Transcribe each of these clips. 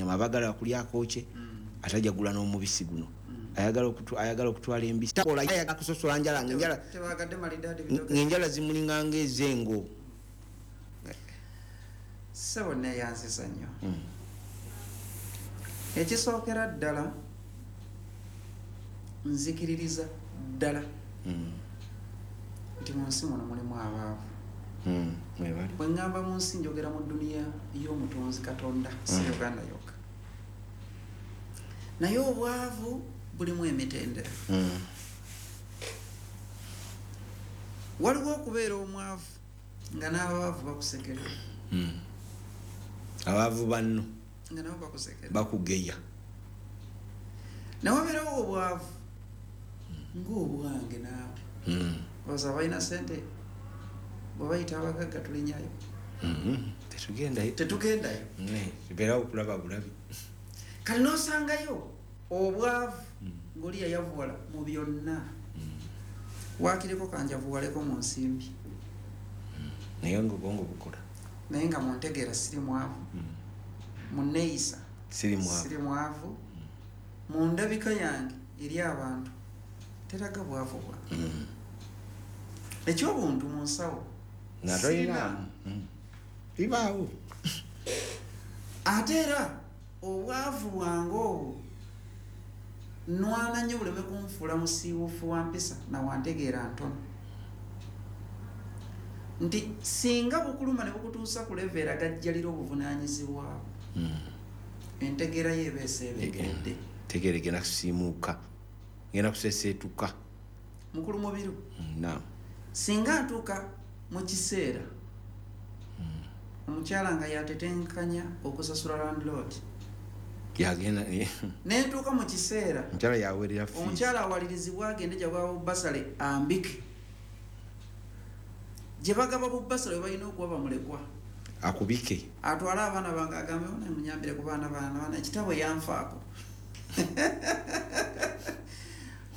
Nyama abagala kulya akookye, atajja gula n'omubisi guno. Ayagala okutwala embisi, takola, ayagala kusosola njala ng'enjala Tebagadde malidaadi bitoke. Ng'enjala zimulinganga ez'engo. Ssebo, neeyanziza nnyo. Ekisookera ddala, nzikiririza ddala nti mu nsi muno mulimu abaavu. Mwebali. Bwe ŋŋamba mu nsi, njogera mu dduniya y'omutonzi Katonda, si Uganda yokka, naye obwavu bulimu emitendera. Waliwo okubeera omwavu nga n'abaavu bakusekerera. Abaavu banno nga nabo bakusekerera, bakugeya. Newabeerawo obwavu ng'obwange naawe. Oza abalina sente bwe bayita abagagga tulinyayo. Tetugendayo. Tetugendayo. Tubeerawo okulaba bulabi. Kati n'osangayo obwavu ng'oli yayavuwala mu byonna, waakiriko kanjavuwaleko mu nsimbi. Naye nga obwongo bukola. Naye nga muntegeera siri mwavu, muneeyisa siri mwavu. Siri mwavu, mu ndabika yange eri abantu teraga bwavu bwange. Ekyobuntu mu nsawo nga sirina. Tolinaamu. Bibaawo. Ate era obwavu bwange obwo nwana nnyo buleme kunfuula musiiwuufu wa mpisa nawantegeera ntono, nti singa bukuluma ne bukutuusa ku level eragajjalira obuvunaanyizibwabwo, entegeera yo eba eseebengeredde. Tegeera egenda kusiimuuka, genda kuseseetuka. Mukulu Mubiru, Naam. singa ntuuka mu kiseera omukyala nga yatetenkanya okusasula landlord, yagenda. nentuuka mu kiseera omukyala yawerera fees. Omukyala awalirizibwa agende gyabwaba bubasale ambike gye bagaba bubasale we balina okuba bamulekwa, akubike. Atwale abaana bange, agambe, "Ona munyambire ku baana baana baana ekitabo yanfaako."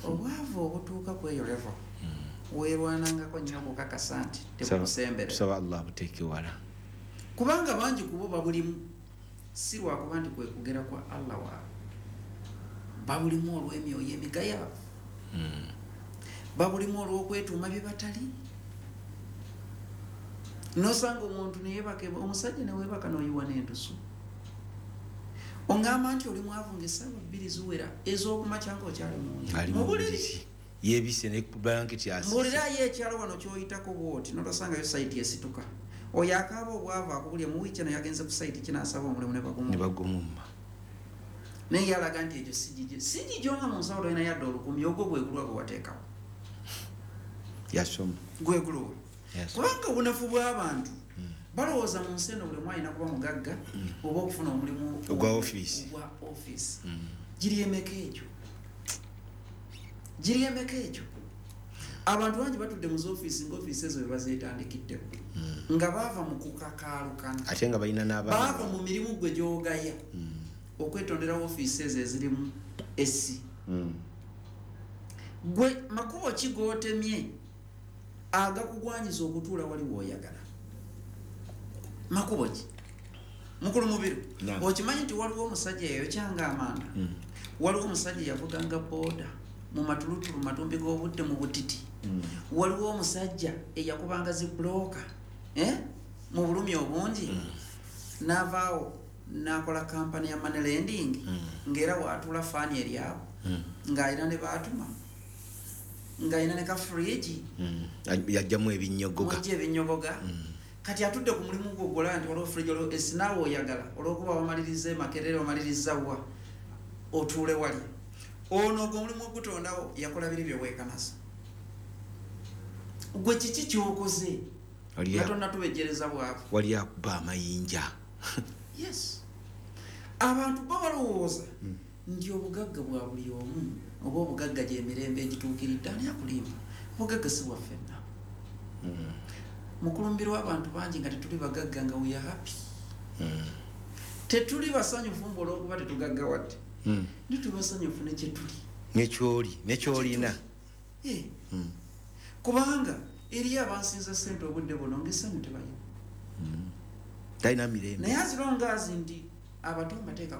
Obwavu obutuuka ku eyo level, weerwanangako nnyo okukakasa nti tebukusemberera. Tusaba Allah abuteeke wala. Kubanga bangi kubo babulimu si lwakuba nti kwe kugera kwa Allah waabwe, babulimu olw'emyoyo emigayaavu, babulimu olw'okwetuuma bye batali. Nosanga omuntu neyebaka, omusajja newebaka noyiwa n'entusu, oŋŋamba nti oli mwavu ngaessaawa 2 ziwera ez'okumakya nga okyali munju Ali mu mu buliri. buliri yeebise ne blanketi asise. Mbuulirayo ekyalo wano kyoyitako bwoti notosangayo site esituka oyo akaaba obwavu akubulya mu wiiki eno yagenze ku site kinaasaba omulimu ne ne bagumuma. Bagumumma. Naye yalaga nti ekyo si gigyo, si gigyo, nga mu nsawo tolina yadde 1000. Ogwo gwegulwa gwe wateekawo. Yasoma. Gwegulwa. Yasoma. Kubanga obunafu bw'abantu, balowooza mu nsi eno buli omu alina kuba mugagga oba okufuna omulimu ogwa ofiisi. Ogwa ofiisi. Giri emeka egyo? Giri emeka egyo? Abantu bangi batudde mu zoofiisi nga ofiisi ezo bebazeetandikiddeko nga baava mu kukakaalukana. Ate nga balina Baava n'abaana. mu mirimu gwe gyogaya okwetondera ofiisi ezo ezirimu esi. Gwe makubo ki gootemye agakugwanyiza okutuula wali wooyagala? Makubo ki, mukulu Mubiru? Naam. Okimanyi nti waliwo omusajja yayokyanga amanda? Waliwo omusajja yavuganga booda mu matulutulu, matumbi g'obudde, mu butiti. Waliwo omusajja eyakubanga zi bulooka, eh? Mu bulumi obungi n'avaawo n'akola kampani ya money lending, ng'era waatuula faani eryawo, ng'alina ne baatuma, ng'alina ne ka fridge. Yajjamu ebinyogoga. Mujja ebinyogoga. Kati atudde ku mulimu gwogola nti waliwo fridge, waliwo esi, naawe oyagala olwokuba wamaliriza emakerere, wamaliriza wa otuule wali. Ono ogwo omulimu ogutondawo yakola biri byeweekanasa. Gwe kiki kyokoze nga tonnatubejjereza bwavu? Wali akuba amayinja. Yes, abantu bo balowooza nti obugagga bwa buli omu oba obugagga gyemirembe egituukiridde. Ani akulimba? Obugagga si bwaffenna. Mukulumbirwa abantu bangi nga tetuli bagagga nga we are happy. Tetuli basanyufu mbu olwokuba tetugaggawadde, ne tuli basanyufu nekyetuli. Nekyoli, nekyolina. Eh. Kubanga eriyo abansinza sente obudde buno ngaessanyu tebalina. Talina mirembe. Naye as long as nti abato mbateeka